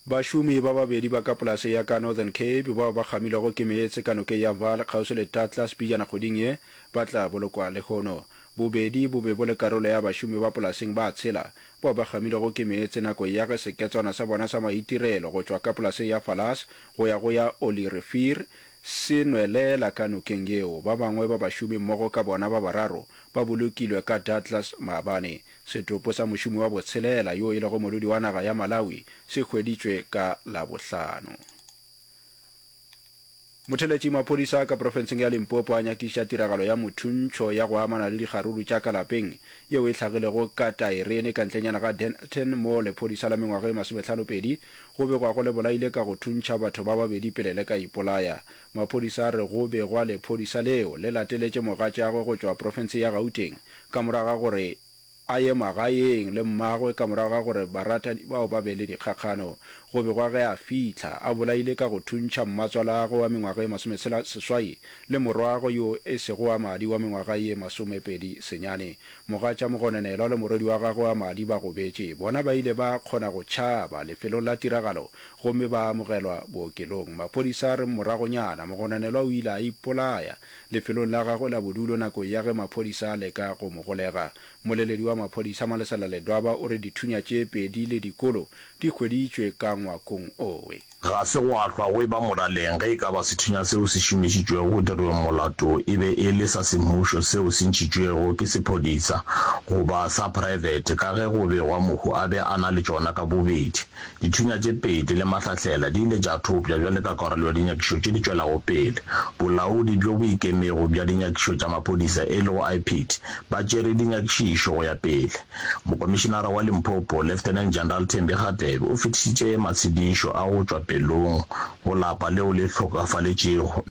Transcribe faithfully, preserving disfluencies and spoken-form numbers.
Bašomi ba babedi ba ka polase ya ka Northern Cape bao ba kgamilwego ke meetse ka nokeng ya Vaal kgauswi le Douglas pejana kgweding ye ba tla bolokwa lehono. Bobedi bo be bo le karolo ya bašomi ba polaseng ba tshela bao ba kgamilwego ke meetse nakong ya ge seketswana sa bona sa maitirelo go tšwa ka polaseng ya Falas go ya go ya Olierivier se nwelela ka nokeng yeo. Ba bangwe ba bašomi mmogo ka bona ba bararo ba bolokilwe ka Douglas maabane. Setopo sa mošomi wa botshelela yo e lego modudi wa naga ya Malawi se hweditšwe ka Labohlano. Motheletši Maphodisa ka profenseng ya Limpopo a nyakišiša tiragalo ya mothuntšho ya go amana le dikgaruru tša ka lapeng yeo e hlagilego ka Taerene ka ntlenyana ga Dennilton mo lephodisa la mengwaga e masomehlano pedi go begwago le bolaile ka go thuntšha batho ba babedi pele le ka ipolaya. Maphodisa a re go begwa lephodisa leo le lateletše mogatšagwe go tšwa profenseng ya Gauteng ka morago ga gore a ye magaeng le mmagwe ka morago ga gore baratani bao ba be le dikgakgano. Go begwa ge a fihla, a bolaile ka go thuntšha mmatswalagwe wa mengwaga ye masometshela seswai le morwagwe yo e sego wa madi wa mengwaga ye masomepedi senyane. Mogatša mogononelwa le morwedi wa gagwe wa madi ba gobetše. Bona ba ile ba kgona go tšhaba lefelong la tiragalo gomme ba amogelwa bookelong. Maphodisa a re moragonyana mogononelwa o ile a ipolaya lefelong la gagwe la bodulo nakong ya ge maphodisa a leka go mo golega. Mmoleledi wa maphodisa Malesela Ledwaba o re dithunya tše pedi le dikolo di hweditšwe ka ngwakong owe. Ga se gwa hlwa go eba molaleng ge e ka ba sethunya seo se šomišitšwego go dirweng molato e be e le sa semmušo seo se ntšhitšwego ke sephodisa goba sa praebete ka ge go begwa mohu a be a na le tšona ka bobedi. Dithunya tše pedi le mahlahlela di ile tša thopša bjale ka karolo ya dinyakišo tše di tšwelago pele. Bolaodi bjo bo ikemego bja dinyakišo tša maphodisa e lego I P I D ba tšere dinyakišišo go ya pele. Mokomišinara wa Limpopo, Lieutenant General Thembi Kgatebe o fetišitše matshedišo a go tšwa pelong go lapa leo le hlokafaletšego.